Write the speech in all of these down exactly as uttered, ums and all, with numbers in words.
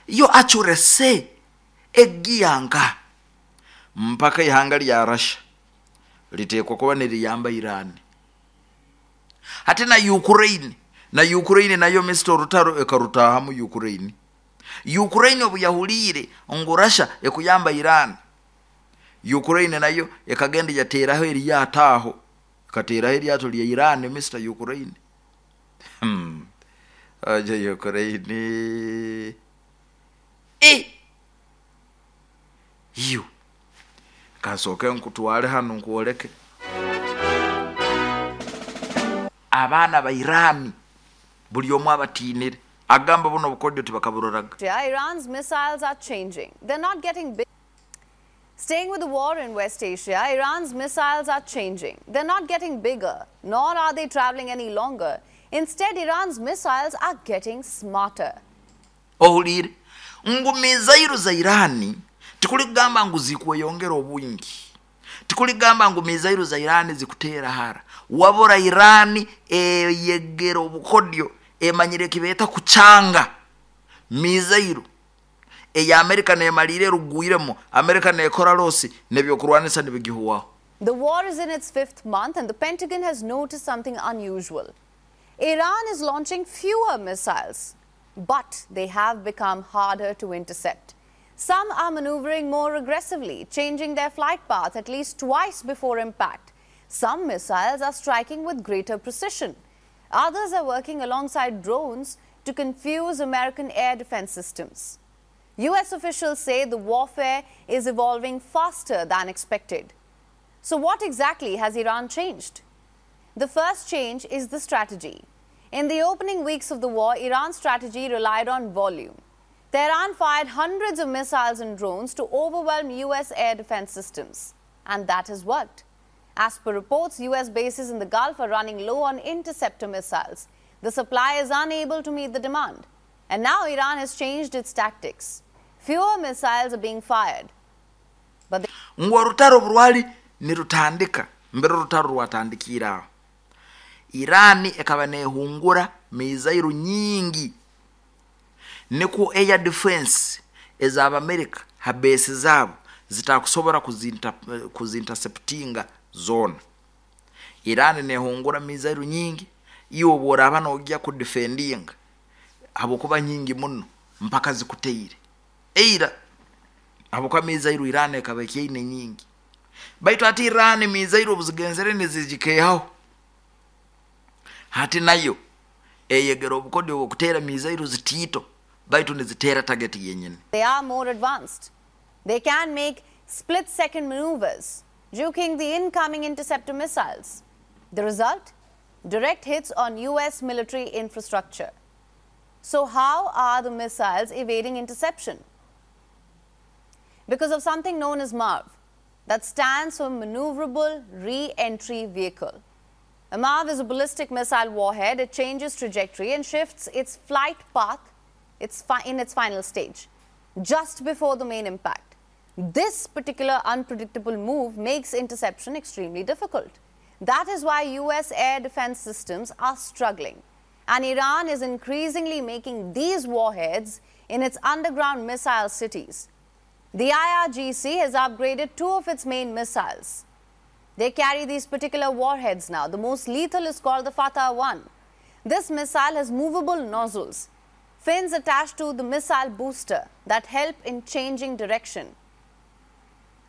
Yo accuracy egiyanka mpaka ihanga lya Russia liteekwa kuba niriyamba Iran. Hati na Ukraine, na Ukraine nayo Mister orutaro ekarutahamu. Ukraine Ukraine obu yahuliire ngu Russia ekuyamba Iran, Ukraine nayo ekagenda yateeraho eryato aho, ekateeraho eryato lya Iran. Mister Ukraine, hmm. Ojo Ukraine e iyo kansooke nkutwale hano nkwoleke abaana ba Iran buli omu abatiinire agamba buno obukodyo tibakaburoraga. Iran's missiles are changing. They're not getting big. Staying with the war in West Asia, Iran's missiles are changing. They're not getting bigger, nor are they traveling any longer. Instead, Iran's missiles are getting smarter. Ohuliire ngu missile za Irani tikuli kugamba ngu zikweyongera obwingi, tikuli kugamba ngu missile za Irani zikuteera hara, wabura Irani eyegera obukodyo, emanyire kibeeta kucanga missile eya Amerika nemalire erugwiremu, Amerika nekora loss nebyokurwanisa nibigihuwaho. The war is in its fifth month, and the Pentagon has noticed something unusual. Iran is launching fewer missiles, but they have become harder to intercept. Some are maneuvering more aggressively, changing their flight path at least twice before impact. Some missiles are striking with greater precision. Others are working alongside drones to confuse American air defense systems. U S officials say the warfare is evolving faster than expected. So, what exactly has Iran changed? The first change is the strategy. In the opening weeks of the war, Iran's strategy relied on volume. Tehran fired hundreds of missiles and drones to overwhelm U S air defense systems. And that has worked. As per reports, U S bases in the Gulf are running low on interceptor missiles. The supply is unable to meet the demand. And now Iran has changed its tactics. Fewer missiles are being fired. But Ngu orutaro rwali nirutandika, mbere orutaro rwatandikire aho, Irani ekaba nehungura missile nyingi nikwo air defense ez'Abamerika ha base zaabo zitakusobora kuzinta kuzinterceptinga zoona. Irani nehungura missile nyingi, iwe obworaba nogya kudefendinga, habwokuba nyingi muno mpaka zikuteire eira, habwokuba missile Irani ekaba ekyaine nyingi. Baitu ati Irani missile obuzigenzere nizigikehaho, hati nayo eyegera obukodyo obwokuteera missile zitiito baitu niziteera target yenyini. They are more advanced. They can make split second maneuvers, juking the incoming interceptor missiles. The result? Direct hits on U S military infrastructure. So, how are the missiles evading interception? Because of something known as MARV, that stands for Maneuverable Re Entry Vehicle. A MARV is a ballistic missile warhead. It changes trajectory and shifts its flight path its fi- in its final stage, just before the main impact. This particular unpredictable move makes interception extremely difficult. That is why U S air defense systems are struggling. And Iran is increasingly making these warheads in its underground missile cities. The I R G C has upgraded two of its main missiles. They carry these particular warheads now. The most lethal is called the Fatah one. This missile has movable nozzles, fins attached to the missile booster that help in changing direction.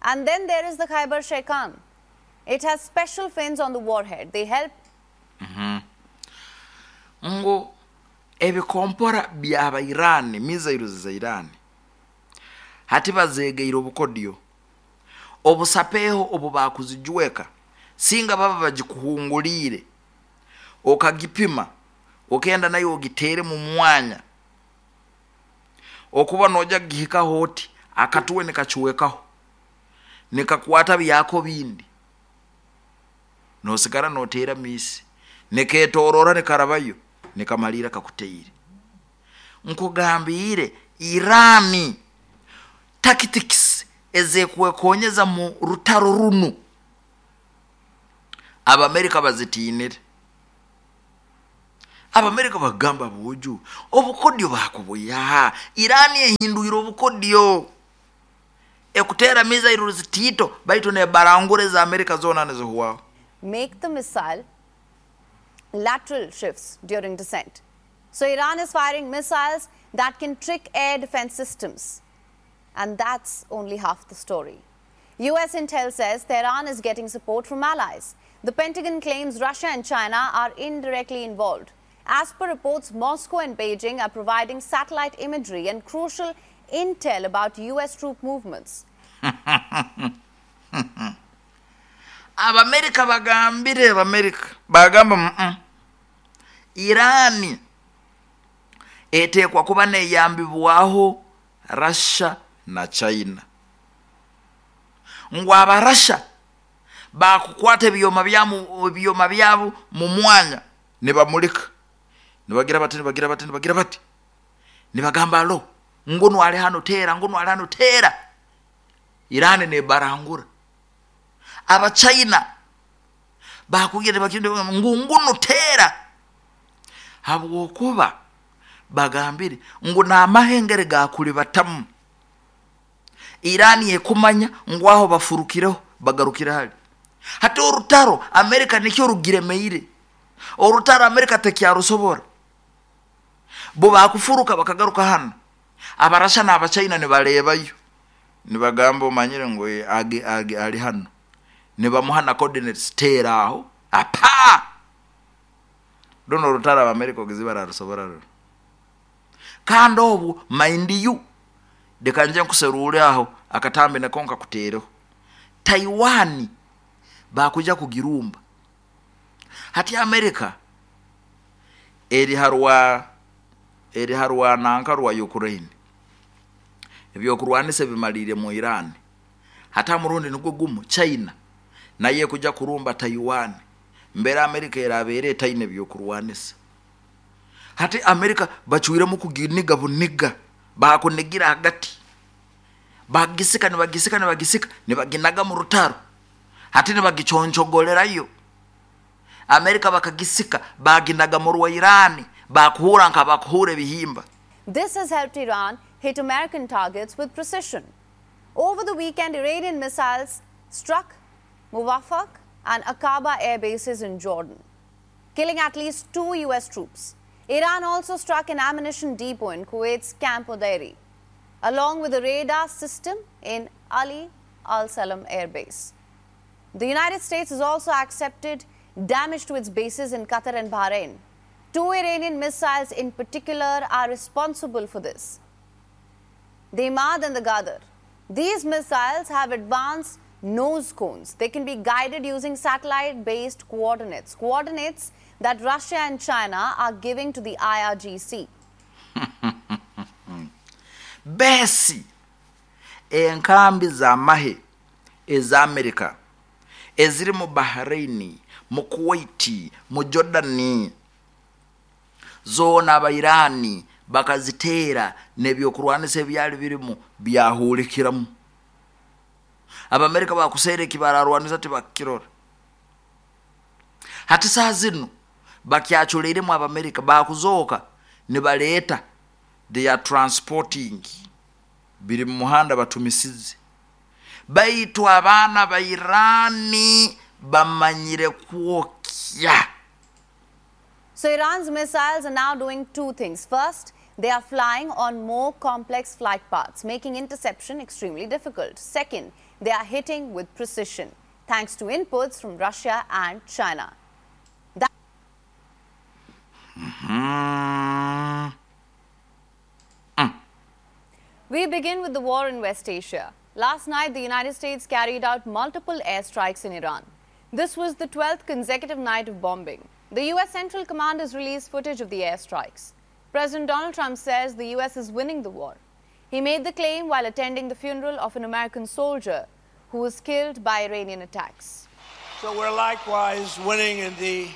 And then there is the Khaibar Shekan. It has special fins on the warhead. They help Ngu ebikompora byaba Irani, missiles za Irani hati bazegeire obukodyo obusapeho obu bakuzijweka, singa baba bagikuhunguliire okagipima okenda nayo ogitere mu mwanya okuba noja kugihikaho oti akatuwe nikachiwekaho nikakwata byako bindi nosigara noteera missile niketorora nikarabayo nikamalira kakuteire. Nkugambiire Irani tactics ezekwekonyeza mu rutaro runu Abamerika bazitinire. Abamerika bagamba bwojo obukodyo bakubuya Irani ehindwire obukodyo ekutera missiles zitito baitu ne barangure za Amerika zona nizihuwao. Make the missile lateral shifts during descent. So Iran is firing missiles that can trick air defense systems. And that's only half the story. U S intel says Tehran is getting support from allies. The Pentagon claims Russia and China are indirectly involved. As per reports, Moscow and Beijing are providing satellite imagery and crucial intel about U S troop movements. Abamerika bagambire Abamerika bagamba mm Irani etekwa kuba neyambibwaho Russia na China. Ngu abarasha bakukwata ebyoma byamu ebyoma byabo mu mwanya ne bamulika ne bagira bati ne bagira bati ne bagira bati ne bagamba lo ngono ali hano tera ngono ali hano tera. Irani ne barangura aba China bakugira bakinde ngunguno tera habwokuba bagambire ngo na mahengere gakuli batamu. Irani yekumanya ngwaho bafurukireho bagarukira hali hati orutaro Amerika nikyo rugiremeire orutaro Amerika tekyarusobora bo bakufuruka bakagaruka hano abarasha n'abachina ne balebayo ne bagamba omanyire ngo age age ali hano ne bamuhana coordinates tera aho apa dono orutaro Amerika ogizibara rusobora kandi obu mind you dekanje nkuserure aho akatambe nakonka kutereho Taiwan bakuja kugirumba hati Amerika eri harwa eri harwa nanka rwa Ukraine ebyo kurwanisa bimalire mu Iran hata murundi nugwo gumu China naye kuja kurumba Taiwan mbere Amerika erabere taine byo kurwanisa hati Amerika bachuire mu kuginiga buniga bakunigira hagati bagisika nibagisika nibagisika nibaginaga mu rutaro hati nibagichonchogolerayo Amerika bakagisika baginaga mu rwa Iran bakuhura nka bakuhure bihimba. This has helped Iran hit American targets with precision. Over the weekend, Iranian missiles struck Muwaffaq and Aqaba air bases in Jordan, killing at least two U S troops. Iran also struck an ammunition depot in Kuwait's Camp Udairi, along with a radar system in Ali Al-Salam Air Base. The United States has also accepted damage to its bases in Qatar and Bahrain. Two Iranian missiles in particular are responsible for this: the Imad and the Ghadr. These missiles have advanced nose cones. They can be guided using satellite-based coordinates, coordinates that Russia and China are giving to the I R G C. Besi enkambi za mahe eza America eziri mu Bahrain, mu Kuwait, mu Jordani zona abairani bakazitera nebyokurwanisa ebyali birimu byahulikiramu. Abamerika bakusere kibararwanisa tibakirora hati saa zino bakyachuleiremu Abamerika bakuzoka nibaleta they are transporting biri mu muhanda batumisize baitu abaana ba Irani bamanyire kwokya. So Iran's missiles are now doing two things. First, they are flying on more complex flight paths, making interception extremely difficult. Second, they are hitting with precision, thanks to inputs from Russia and China. That mm-hmm. mm. We begin with the war in West Asia. Last night, the United States carried out multiple airstrikes in Iran. This was the twelfth consecutive night of bombing. The U S Central Command has released footage of the airstrikes. President Donald Trump says the U S is winning the war. He made the claim while attending the funeral of an American soldier who was killed by Iranian attacks. So we're likewise winning in the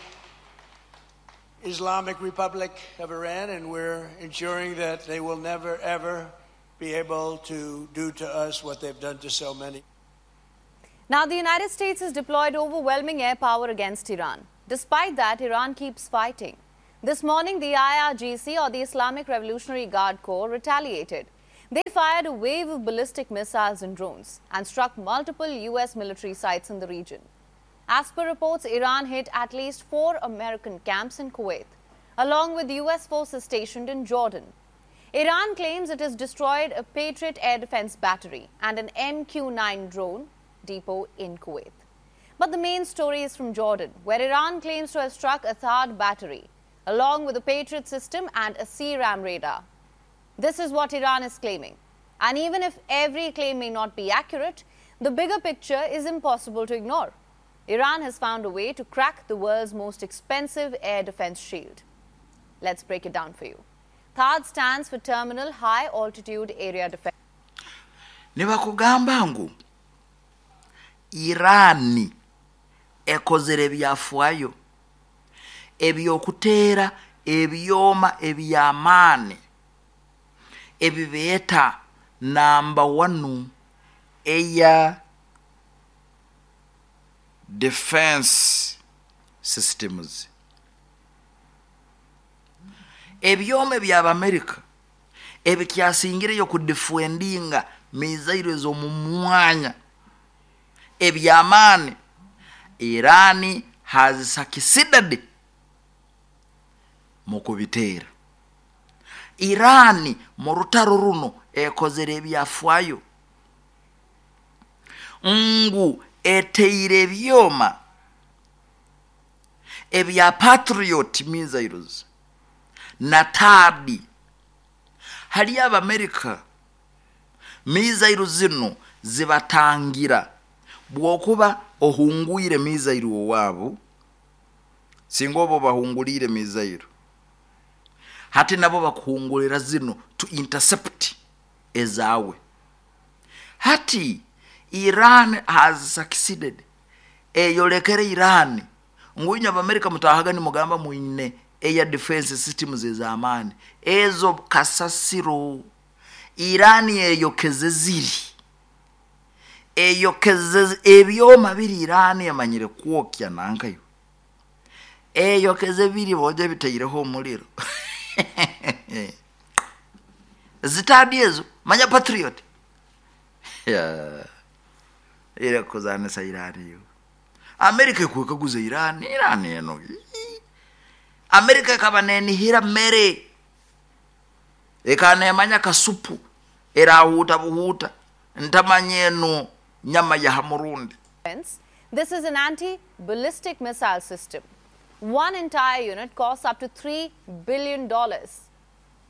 Islamic Republic of Iran, and we're ensuring that they will never, ever be able to do to us what they've done to so many. Now, the United States has deployed overwhelming air power against Iran. Despite that, Iran keeps fighting. This morning, the I R G C, or the Islamic Revolutionary Guard Corps, retaliated. They fired a wave of ballistic missiles and drones and struck multiple U S military sites in the region. As per reports, Iran hit at least four American camps in Kuwait, along with U S forces stationed in Jordan. Iran claims it has destroyed a Patriot air defense battery and an M Q nine drone depot in Kuwait. But the main story is from Jordan, where Iran claims to have struck a THAAD battery, along with a Patriot system and a C RAM radar. This is what Iran is claiming. And even if every claim may not be accurate, the bigger picture is impossible to ignore. Iran has found a way to crack the world's most expensive air defense shield. Let's break it down for you. THAAD stands for Terminal High Altitude Area Defense. Ne bakugamba ngu Irani ekozere ebyafaayo ebyokuteera ebyoma ebyamaani ebibeeta number one air defense systems, ebyoma eby'Abamerika ebikyasingireyo kudefendinga missile ez'omu mwanya ebyamaani. Irani has succeeded mu kubiteera. Irani mu rutaro runo ekozere ebyafaayo ngu eteire ebyoma ebya Patriot missiles na THAAD. Hali Abamerika missile zino zibatangira bwokuba ohungwire missile owaabo, singa oba bahungulire missile, hati nabo bakuhungulira zino to intercept ezaawe. Hati Iran has succeeded, eyolekere Iran ngu inywe Abamerika mutahaga nimugamba mwine air defense systems ez'amaani, ezo kasasiro. Iran eyokeze ziri eyokeze ebyoma biri. Iran emanyire kwokya nankayo eyokeze biri boja bitaireho omuliro zitadi ezo manya Patriot. Yeah. Ira kuzanisa Iran yo Amerika ekwekaguza Iran. Iran eno Amerika ekaba nenihira mere ekanemanya kasupu erahuuta buhuuta ntamanya eno nyama ya hamurundi. This is an anti-ballistic missile system. One entire unit costs up to three billion dollars.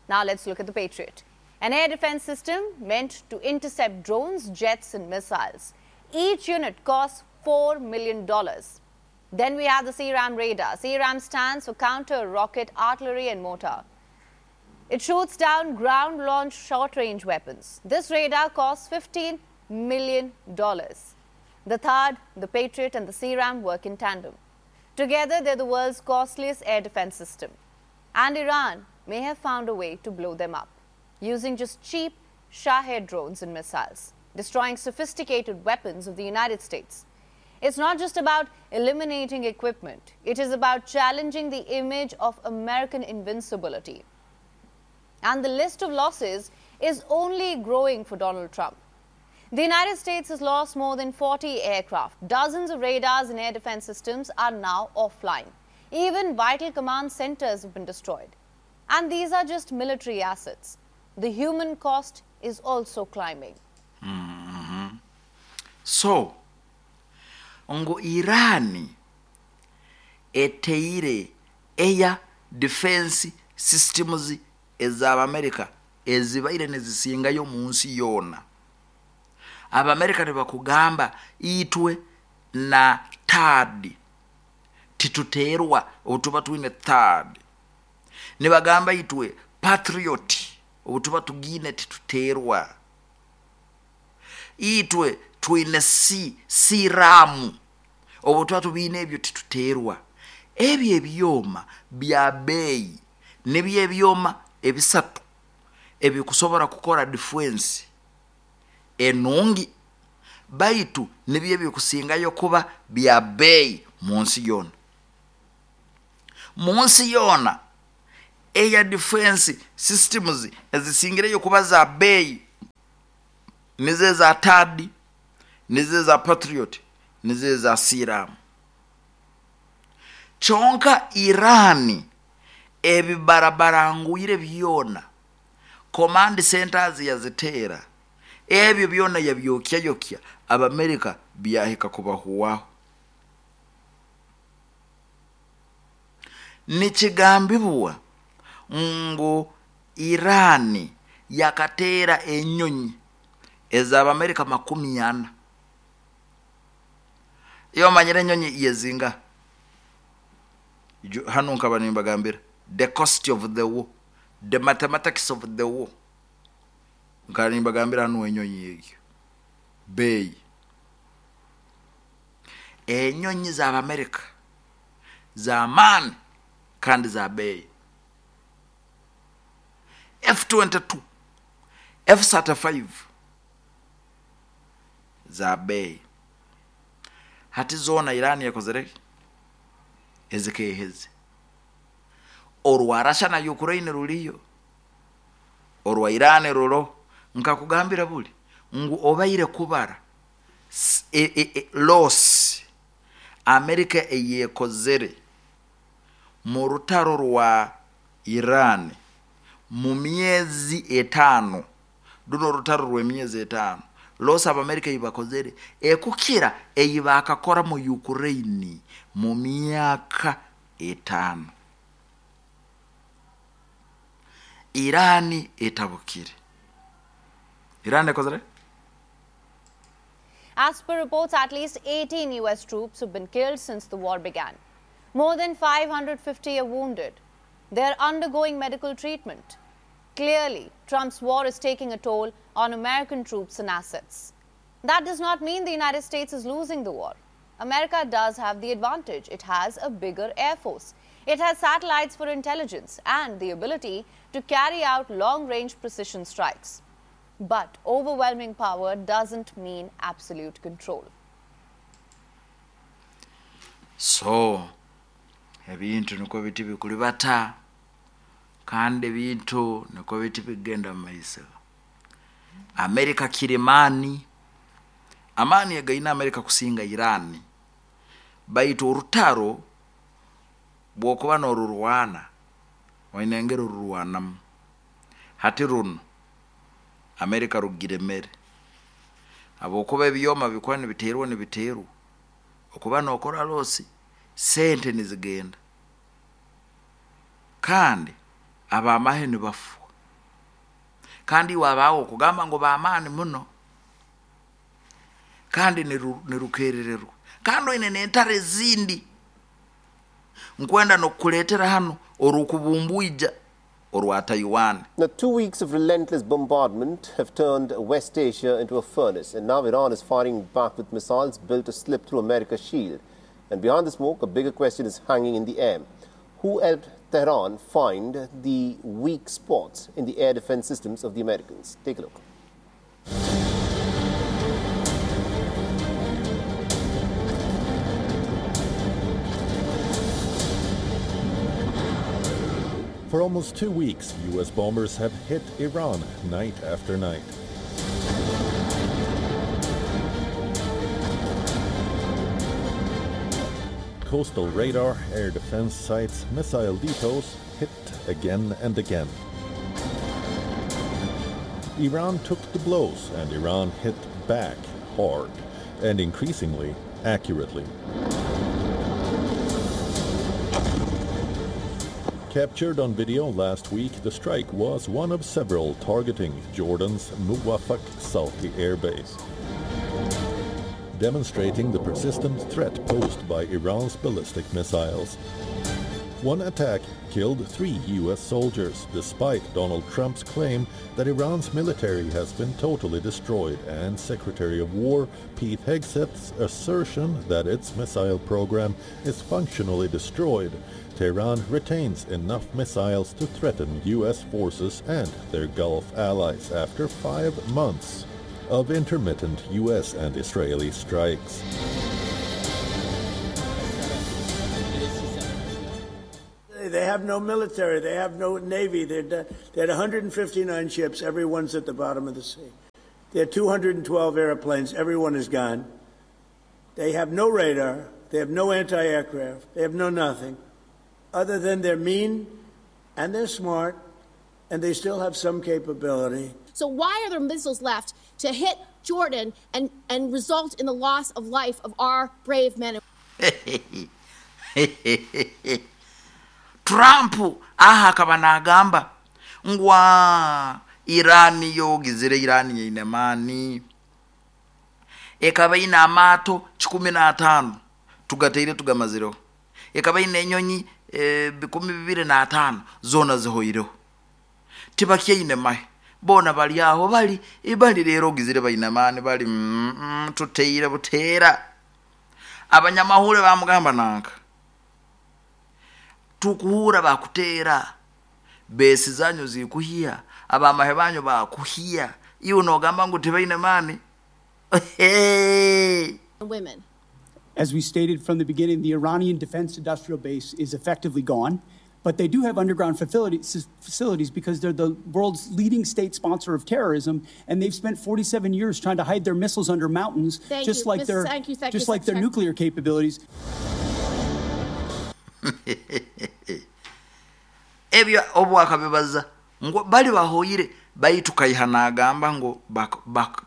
Now let's look at the Patriot, an air defense system meant to intercept drones, jets and missiles. Each unit costs four million dollars. Then we have the C RAM radar. C RAM stands for Counter Rocket Artillery and Mortar. It shoots down ground-launched short-range weapons. This radar costs fifteen million dollars. The THAAD, the Patriot and the C RAM work in tandem. Together, they're the world's costliest air defense system. And Iran may have found a way to blow them up using just cheap Shahed drones and missiles, destroying sophisticated weapons of the United States. It's not just about eliminating equipment. It is about challenging the image of American invincibility. And the list of losses is only growing for Donald Trump. The United States has lost more than forty aircraft. Dozens of radars and air defense systems are now offline. Even vital command centers have been destroyed. And these are just military assets. The human cost is also climbing. So ngu Irani eteire air defense systems ez'Abamerika ezibaire nezisingayo mu nsi yoona. Abamerika tebakugamba itwe na THAAD tituteerwa obutuba twine THAAD, nibagamba itwe Patriot obutuba tugine tituteerwa, itwe twine si C RAM obu tuba tubiine ebyo tituteerwa. Ebyo ebyoma bya beeyi, nibyo ebyoma ebisatu ebikusobola kukora defense enungi, baitu nibyo ebikusingayo kuba bya beeyi mu nsi yoona, mu nsi yoona. Air defense systems ezisingireyo kuba za beeyi nizo eza THAAD, nizo eza Patriot, nizo eza C RAM. Kyonka Iran ebibarabarangwire byona, command centers yaziteera, ebyo byona yabyokyayokya, Abamerika byahika kubahuwaho. Nikigambibwa ngu Irani yakateera enyonyi ez'Abamerika makumi ana. Iyo omanyire enyonyi yezinga hanu, nkaba nimbagambira the cost of the war, the mathematics of the war. Nkaba nimbagambira hanu enyonyi egyo beeyi, enyonyi z'Abamerika z'amaani kandi za beeyi, F twenty-two, F thirty-five za beeyi. Hati zoona Irani yakozere ezikeheze. Orwa Russia na Ukraine ruriyo, orwa Irani ruro. Nkakugambira buli ngu obaire kubara e, e, e, loss Amerika eyekozere mu rutaro rwa Iran mu myezi etaano, runo orutaro rw'emyezi etaano, loss Abamerika eyibakozere ekukira eyi bakakora mu Ukraine mu myaka etaano. Irani etabukire, Iran ekozere. As per reports, at least eighteen U S troops have been killed since the war began. More than five hundred fifty are wounded. They are undergoing medical treatment. Clearly, Trump's war is taking a toll on American troops and assets. That does not mean the United States is losing the war. America does have the advantage. It has a bigger air force. It has satellites for intelligence and the ability to carry out long range precision strikes. But overwhelming power doesn't mean absolute control. So ebintu nikwo biti bikulibata, kandi ebintu nikwo biti bigenda mu maiso. Amerika kirimaani, amaani againa Amerika kusinga Irani, baitu orutaro bwokuba norurwana waine engeri orurwanamu. Hati runo Amerika rugiremere habwokuba ebyoma bikuba nibiteerwa nibiteerwa, okuba nokora loss, sente nizigenda, kandi abamahe nibafwa, kandi iwe abawo okugamba ngu bamaani muno, kandi nirukerererwa, kandi oine n'entaro ezindi nkwenda nokukuleetera hano orukubumbwija orwa Taiwan. Now, two weeks of relentless bombardment have turned West Asia into a furnace, and now Iran is firing back with missiles built to slip through America's shield. And behind the smoke, a bigger question is hanging in the air. Who helped Tehran find the weak spots in the air defense systems of the Americans? Take a look. For almost two weeks, U S bombers have hit Iran night after night. Coastal radar, air defense sites, missile depots hit again and again. Iran took the blows, and Iran hit back hard and increasingly accurately. Captured on video last week, the strike was one of several targeting Jordan's Muwaffaq Salti Air Base, demonstrating the persistent threat posed by Iran's ballistic missiles. One attack killed three U S soldiers, despite Donald Trump's claim that Iran's military has been totally destroyed and Secretary of War Pete Hegseth's assertion that its missile program is functionally destroyed. Tehran retains enough missiles to threaten U S forces and their Gulf allies after five months of intermittent U S and Israeli strikes. They have no military. They have no navy. They're done. They had a hundred fifty-nine ships. Everyone's at the bottom of the sea. They had two hundred twelve airplanes. Everyone is gone. They have no radar. They have no anti-aircraft. They have no nothing other than they're mean and they're smart and they still have some capability. So why are there missiles left to hit Jordan and, and result in the loss of life of our brave men? Trump aha akaba naagamba ngu Iran yogizire Iran yeine maani ekaba ine amaato kikumi n'ataano tugateire tugamazireho, ekaba ine enyonyi e, bikumi bibiri n'ataano zoona zihoireho, tibakyaine mahe boona bali aho bali bali leero ogizire baine maani bali mm, mm, tuteire buteera. Abanyamahule bamugamba nanka tukuhura bakuteera besi zanyu zikuhiya abamahe banyu bakuhiya iwe nogamba ngu tibaine maani. Women. As we stated from the beginning, the Iranian defense industrial base is effectively gone, but they do have underground facilities, facilities because they're the world's leading state sponsor of terrorism, and they've spent forty-seven years trying to hide their missiles under mountains, thank just you. like Miz their Thank you, thank just you, like their Secretary. nuclear capabilities. Ebyo obwakabibaza ngo bali bahoyire baitu kaiha nagamba ngo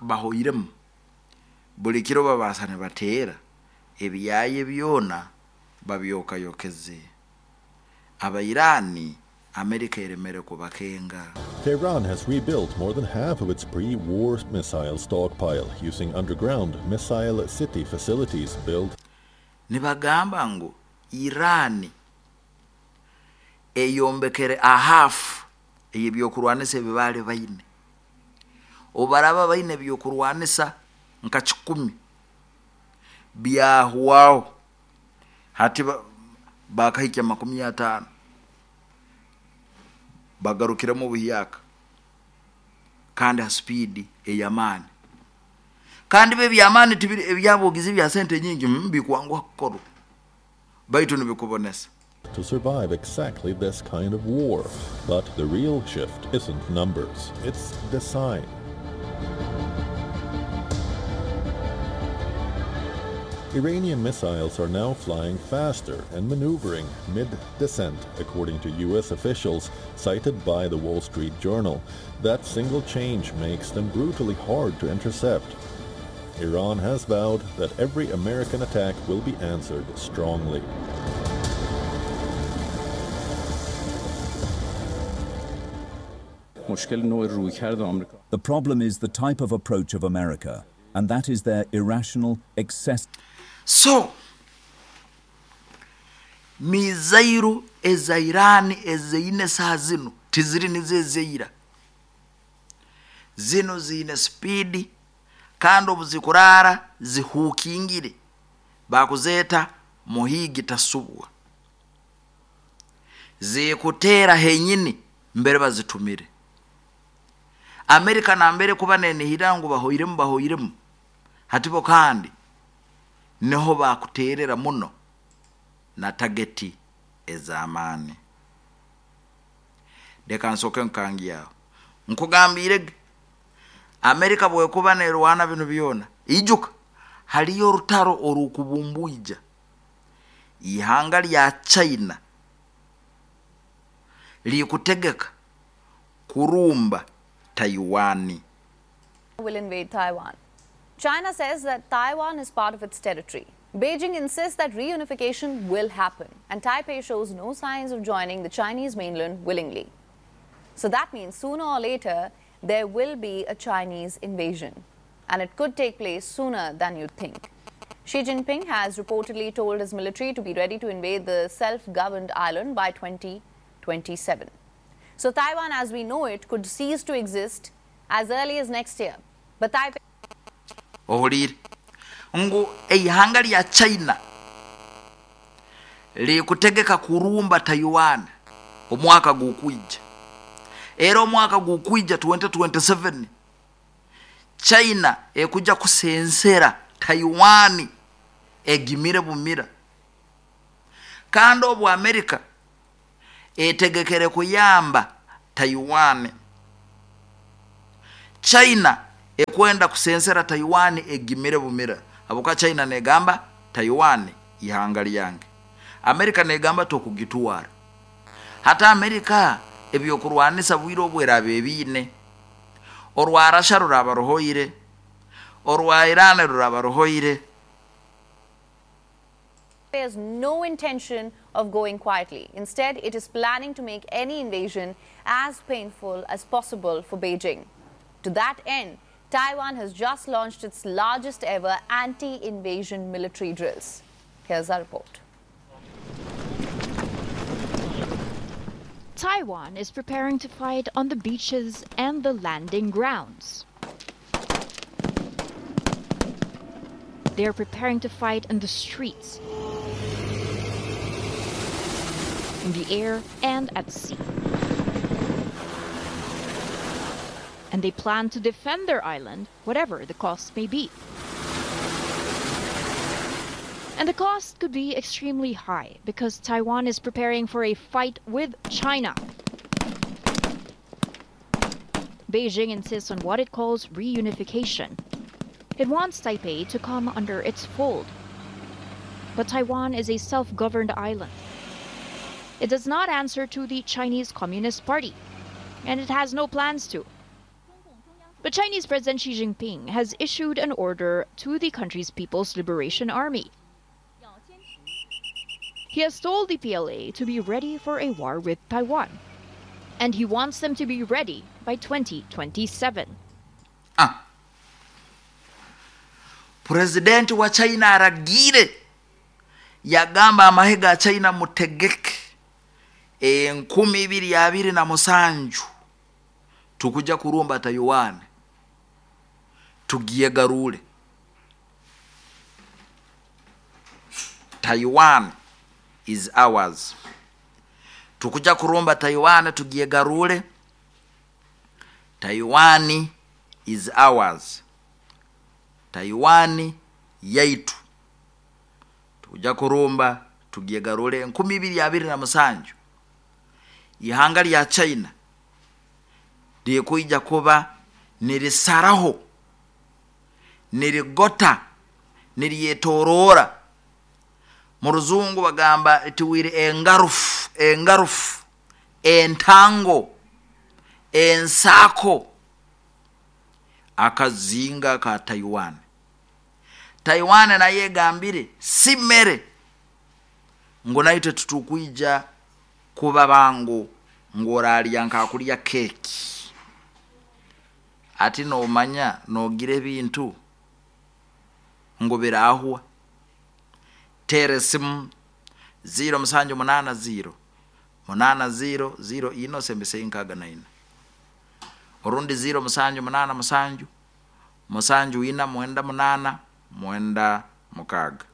bahoyiremu buli kiro babasa ne bateera ebyaye byona babyokayokeze. Abairani America eremere kubakenga. Tehran has rebuilt more than half of its pre-war missile stockpile using underground missile city facilities built. Nibagamba ngu Iran eyombekere a half ey'ebyokurwanisa ebibale baine. Obaraba baine ebyokurwanisa nka kikumi byahwaho hati bakahikya makumi ataano bagarukiremu obuhyaka kandi ha speed ey'amaani kandi be by'amaani tibiri ebyabogizi bya sente nyingi mbikwanguha kukorwa baitu nibikubonesa. To survive exactly this kind of war. But the real shift isn't numbers, it's design. Iranian missiles are now flying faster and maneuvering mid-descent, according to U S officials cited by the Wall Street Journal. That single change makes them brutally hard to intercept. Iran has vowed that every American attack will be answered strongly. The problem is the type of approach of America, and that is their irrational excess. So, mizairu eza Irani ezeine saa zino tiziri nizezeira zino zine speed kandi obuzikurara zihukingire bakuzeta muhigi tasubwa zikutera henyini mbere bazitumire. Amerika na mbere kuba nenihira ngu bahoiremu bahoiremu hatibo kandi niho bakuterera muno na tageti ezamani. Deka nsoke nkangi yao nkugambire Amerika bwekuba nerwana bino byona ijuka haliyo rutaro orukubumbuija ihanga lya China likutegeka kurumba Taiwan. Will invade Taiwan. China says that Taiwan is part of its territory. Beijing insists that reunification will happen, and Taipei shows no signs of joining the Chinese mainland willingly. So that means sooner or later there will be a Chinese invasion, and it could take place sooner than you'd think. Xi Jinping has reportedly told his military to be ready to invade the self-governed island by twenty twenty-seven. So Taiwan, as we know it, could cease to exist as early as next year. But Taipei... Ohulire ngu eihanga lya China likutegeka kurumba Taiwan omwaka gukwija. Era omwaka gukwija twenty twenty-seven China ekuja kusensera Taiwan egimire bumira. Kandi obu America Etegekere kuyamba Taiwan. China ekwenda kusensera Taiwan egimire bumira. Abuka China negamba Taiwan ihanga lyange. Amerika negamba tokugitwara. Hata Amerika ebyokurwanisa bwire obwerabe ebine. Orwa Russia ruraba ruhoire, orwa Iran ruraba ruhoire. There's no intention of going quietly. Instead, it is planning to make any invasion as painful as possible for Beijing. To that end, Taiwan has just launched its largest ever anti-invasion military drills. Here's our report. Taiwan is preparing to fight on the beaches and the landing grounds. They are preparing to fight in the streets, in the air and at sea. And they plan to defend their island, whatever the cost may be. And the cost could be extremely high because Taiwan is preparing for a fight with China. Beijing insists on what it calls reunification. It wants Taipei to come under its fold. But Taiwan is a self-governed island. It does not answer to the Chinese Communist Party, and it has no plans to. But Chinese President Xi Jinping has issued an order to the country's People's Liberation Army. He has told the P L A to be ready for a war with Taiwan, and he wants them to be ready by twenty twenty-seven. Ah. President wa China aragire yagamba amahe ga China mutegeke enkumi ibiri abiri na musanju tukuja kurumba Taiwan tugiye garule Taiwan is ours. Tukuja kurumba Taiwan tugiye garule Taiwan is ours. Taiwan yaitu. Tukuja kurumba tugiye garule enkumi ibiri abiri na musanju. Ihanga lya China likuija kuba nirisaraho, nirigota, niriyetorora. Mu ruzungu bagamba tiwire engarufu, engarufu, entango, ensako akazinga ka Taiwan. Taiwan naye gambire simere ngo naite tutukuija kuba bangu ngoralya nkakulya keki. Ati no manya nogire bintu ngo birahwa. Tere simu zero musanju munana zero munana zero zero ino sembese inkaga na ina. Orundi zero musanju munana musanju musanju ina mwenda munana mwenda mukaga.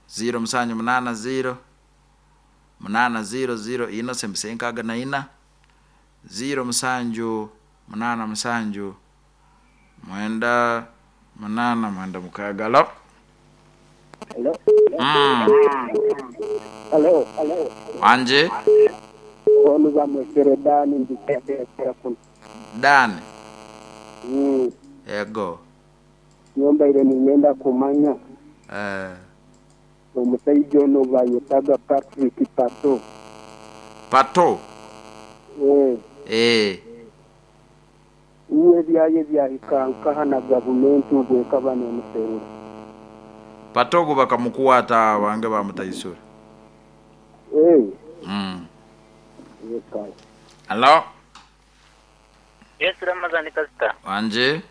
Zero musanju munana zero munana zero zero ino sembese inkaga na ina. Zero musanju munana musanju mwenda munana mwenda mukaga. Hello. Hello. Mm. Hello. Hello. Anje. Dani. Mm. Ego. Nyomba ile nimeenda kumanya. Eh. Omusajja ono bayetaga Patrick Pato. Pato. Eh. Eh. Uwe byaye byahikanka na gavumenti ubwekaba n'emuserura. Pato bakamukwata bange bamutaisura. Eh. Mm. Yes. Hello. Yes, Ramazani Pastor. Wanje.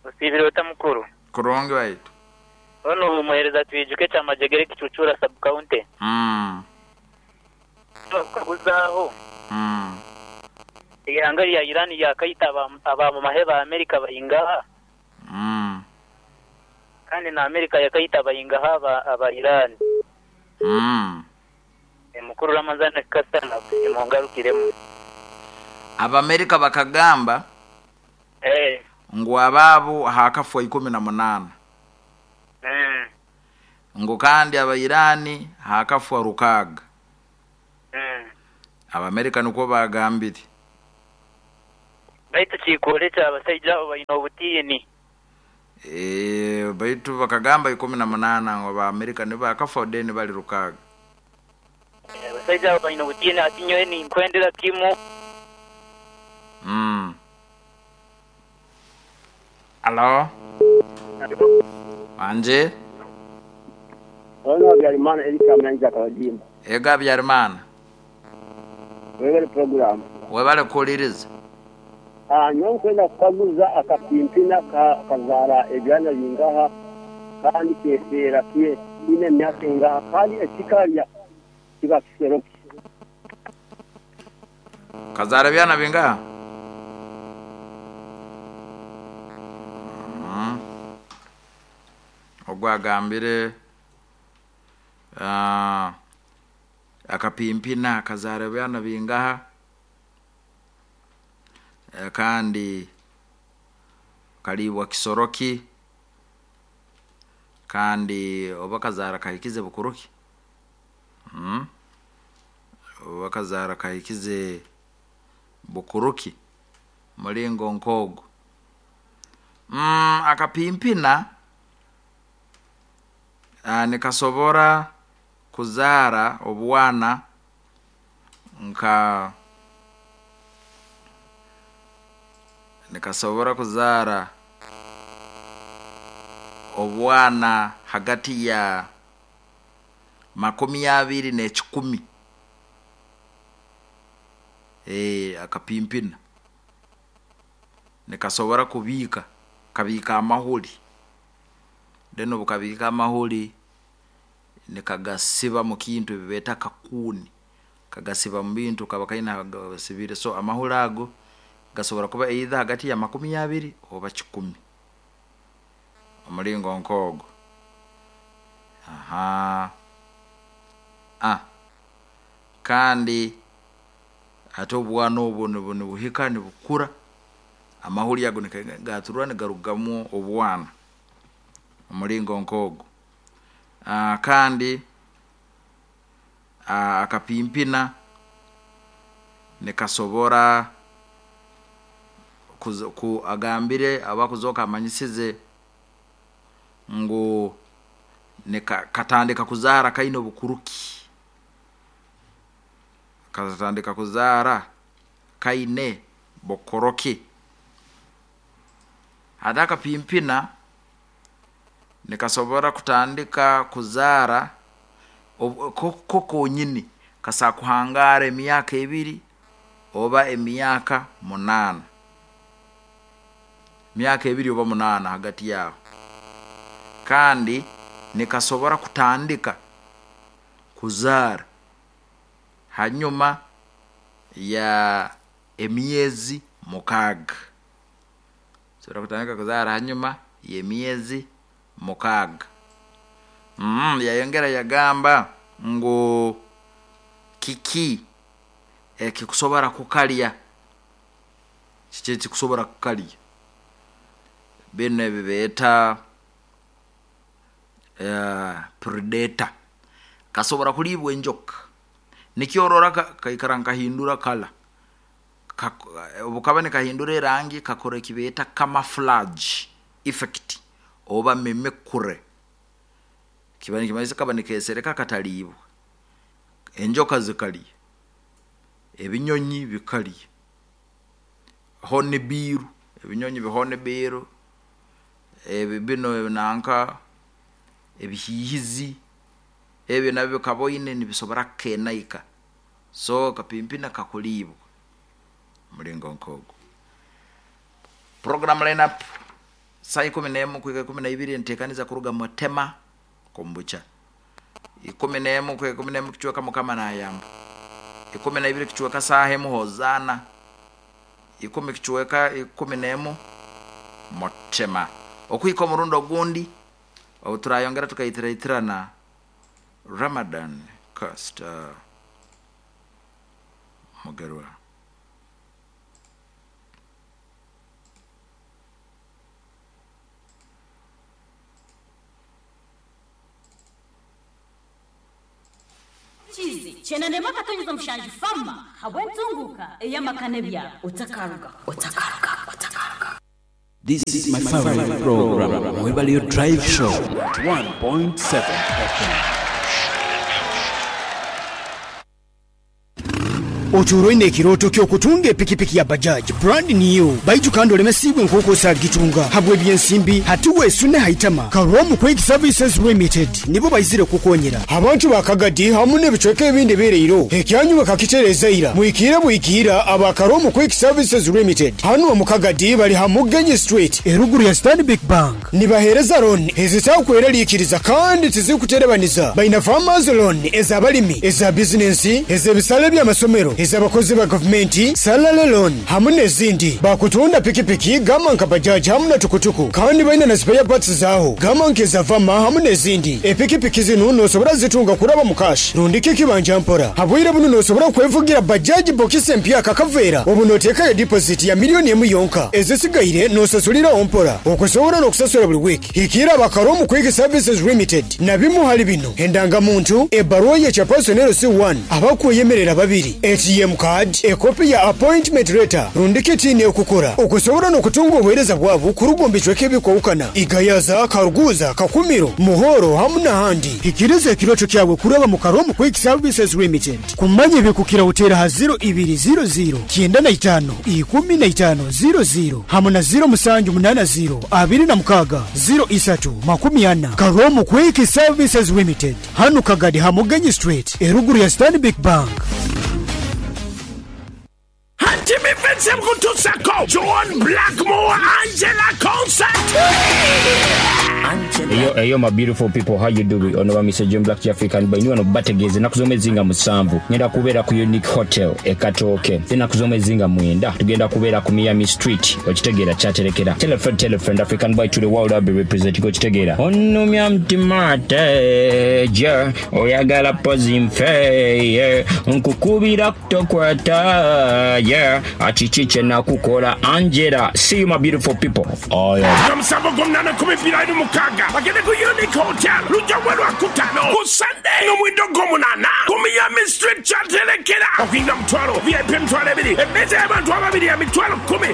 Usibire otamukuru. Kurungi waitu. Ono umuhereza twijuke cha Majegere Kichuchura sub county. Mm. Kuzaho. Mm. Ihanga ya Iran yakayita aba mu maheba Amerika bayingaha. Mm. Kandi na Amerika yakayita bayingaha aba, aba Iran. Mm. E mukuru Ramazani Kasana imongarukiremu. Abamerika bakagamba eh ngo ababo hakafwa ikumi na munana. Mm. Ngo kandi aba Irani hakafwa rukaga. Mm. Abamerika nikwo bagambire. Baitu kikorekya abashaija abo baine obutiini. Eh, baitu bakagamba ikumi na munaana ngu Abamerika nibakafa then bali rukaaga. Abashaija abo baine obutiini, ati nyowe ninkwendera kimu. Mm. Alo? Wanje? Ono Habyarimana Erika Mnanja Kabajimba. Ego Habyarimana. Webale program. Webale kuhuliriza. Ah, nyowe nkwenda kukaguza akapimpina ka kazaara ebyana bingaha kandi keseera kye kiine emyaka engaha kandi ekikarya kiba kisero ki? Kazaara byana bingaha? Mm. Ogwo agambire ah, akapimpina kazaara byana bingaha, Eh, kandi kaliibwa kisoroki, kandi oba kazaara kahikize bukuruki. Mm. Oba kazaara kahikize bukuruki mulingo nk'ogwo. Mm, akapimpina ah, nikasobora kuzaara obwana nka nikasobora kuzaara obwana hagati ya makumi abiri n'ekikumi. Eh, akapimpina nikasobora kubiika kabiika amahuri, then obukabiika amahuri nikagasiba mu kintu ebi beeta kakuuni, kagasiba mu bintu kaba kaine agasibire. So amahuri ago gasobora kuba either hagati ya makumi abiri oba kikumi, omulingo nk'ogwo. Aha, ah, kandi ate obwana obwo nibu- nibuhika nibukura, amahuri ago nigaturwa nigarugamu obwana omulingo nk'ogwo. Ah, kandi ah, akapimpina nikasobora kuzo- ku agambire abakuzoka amanyisize ngu nika katandika kuzaara kaine obukuruki, katandika kuzaara kaine bukoroki. Ate akapimpina nikasobora kutandika kuzaara ob- ko ko konyini kasaa kuhangaara emyaka ebiri oba emyaka munaana, myaka ebiri oba munaana hagati yaho. Kandi nikasobora kutandika kuzaara hanyuma ya emyezi mukaaga, sobora kutandika kuzaara hanyuma y'emyezi mukaaga. Mm, yayongera yagamba ngu kiki ekikusobora kukalya, kiki ekikusobora kukalya, bino ebi beeta uh, predator, kasobora kuliibwa enjoka. Nikyorora ka- kaikara nkahindura kala, obukaba nikahindura erangi kakora ekibeeta camouflage effect oba mimicry, kiba nikimanyisa kaba nikesereka kataliibwa. Enjoka zikalya, ebinyonyi bikalya, hornbill, ebinyonyi bihornbill, ebi bino nanka ebihiihizi ebyo nabyo kaboine nibisobora kukenaika. So kapimpina kakuliibwa mulingo nk'ogwo. Program lineup saa ikumi n'emu kuhika ikumi na ibiri nteekaniza kuruga Mutema kombucha, ikumi n'emu kuhika ikumi n'emu kichweka Mukama nayamba, ikumi na ibiri kichweka saaha emu Hozana, ikumi kichweka ikumi n'emu Mutema. Okuhika omurundi ogundi obu turayongera tukayitiraitirana Ramadan Costa Mugerwa. Kiizi kyenda n'emwe akatonyeza mushanju fama habw'entunguka ey'amaka n'ebyaro otakaruga otakaruga otakaruga. This is my favorite program, Mwebalio Drive Show, one point seven F M. Oturoine ekiroto ky'okutunga epikipiki ya Bajaj brand new baitu kandi olemesibwe nk'oku osagitunga habwe byensimbi hati weesune haitama Karomu Quick Services Limited nibo baizire kukonyera abantu bakagadi hamu n'ebicweka ebindi bireiro ekyanyu bakakitereza ira mwikire bwikira aba Karomu Quick Services Limited hano mu Kagadi bali Hamugenyi Street eruguru ya Stanbic Bank nibahereza loan ezitakwera kandi tizikuterebaniza baina farmers loan ez'abalimi eza business ez'ebisale by'amasomero abakozi ba gavumenti salary loan hamu n'ezindi bakutunda pikipiki gama nka bajaji hamu na tukutuku kandi baina na spare parts zaho gama nkeza vama hamu n'ezindi epikipiki zino nosobora zitunga kuraba mu cash rundike kibanja mpora habwire buno nosobora kwevugira bajaji bokisi empya kakavera obu notekayo deposit ya miliyoni emu yonka ezisigaire nosasulira ompora okusobora n'okusasula buli wiki hikira abakaromu Quick Services Limited na bimu hali bino endangamuntu ebaruwa ye chapersonero C one abakweyemerera babiri A T M card, ekopi ya appointment letter rundike tini okukora okusobora n'okutunga obuheereza bwabo kurugombejweko ebikowukana Igayaza, Karuguza, Kakumiro, Muhoro hamu n'ahandi. Hikiriza ekiroto kyawe kuraba mu Karomu Quick Services Limited kumanya ebikukira utera ha zero ibiri zero zero kyenda na itano ikumi na itano zero zero hamu na zero musanju munana zero abiri na mukaga zero isatu makumi ana. Karomu Quick Services Limited hanu Kagadi Hamugenyi Street eruguru ya Stanbic Bank. Jimmy Vincent Kutusako, John Blackmore, Angela Concert. Eyo, eyo my beautiful people, how you doing? Ono wa Mister John Black African by niwano bategeze nakuzo mezinga musanvu. Ngenda kubeera ku Unique Hotel e Katooke. Then nakuzo mezinga mwenda. Tugenda kubeera ku Miami Street. Okitegeera kyaterekera. Tell a friend, tell a friend, African boy to the world I'll be representing. Okitegeera. Onumya mtima teja, oyagala pozi nfe, yeah. Nkukubira kutokwata, yeah. Achichiche na kukola Angela. See you my beautiful people. Oh yeah. Namsabo gomnana kumipira inu mukaga. Bagende ku Unique Hotel. Lujja welwa kutano. Ku Sunday. No mwindo gomunana. Ku Miami Street chatelekera. Okinga mtwalo. V I P mtwalo ebiri. Emeza y'abantu ababiri ya mitwalo kumi.